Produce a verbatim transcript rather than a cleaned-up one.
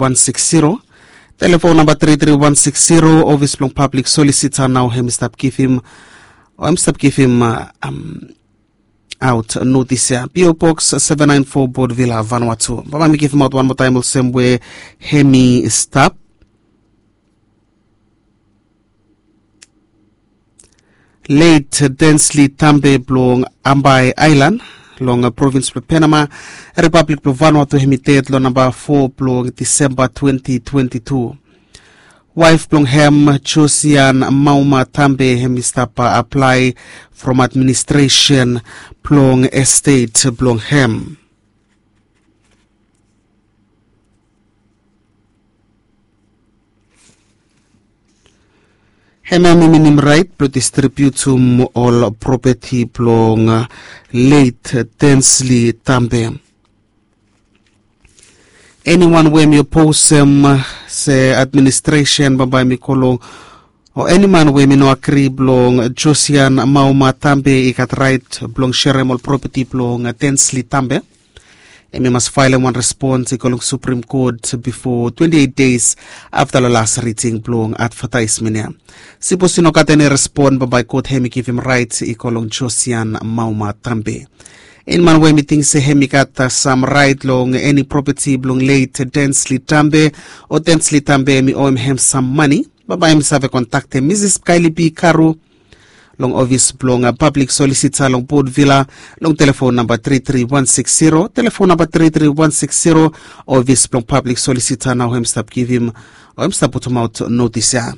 wan sikis zero, telefon namba tri tri wan sikis zero, ofis blong pablik solisita nao hem i stap givim o hem i stap givim aot notis ya. P O Box seven nine four, Port Vila, Vanuatu. Baba mi givim aot wan moa taem olsem we hem i stap. Leit Densli Tambe blong Ambae Aelan long provins blong Penama, Ripablik blong Vanuatu, hem i ded long namba fo blong Disemba twenti twenti tu. Waef blong hem, Josian Mauma Tambe, hem i stap aplae from administresen blong estet blong hem. Hem ya mi minim raet blong distribiutum ol propeti blong leit Densli Tambe. Eniwan we mi oposem se administresen bambae mi go long, o eniman we mi no agri blong Josian Mauma Tambe i gat raet blong serem ol propeti blong Densli Tambe, hem i mas faelem wan respons i go long Suprem Kot bifo twenti eit deis afta long las riding blong advataesmen ya. Sipos i no gat eni respon, bambae kot hem i givim raet i go long Josian Mauma Tambe. Eniman we hem i ting se hem i gat sam raet long eni propeti blong leit Densli Tambe, o Densli Tambe hem i oem hem sam mane, bambae hem i save kontaktem Misis Kaili B Karu long ofis blong pablik solisita long Port Vila long telefon namba tri tri wan sikis zero, telefon namba tri tri wan sikis zero, ofis blong pablik solisita nao hem i stap givim o hem i stap putumaot notis ya.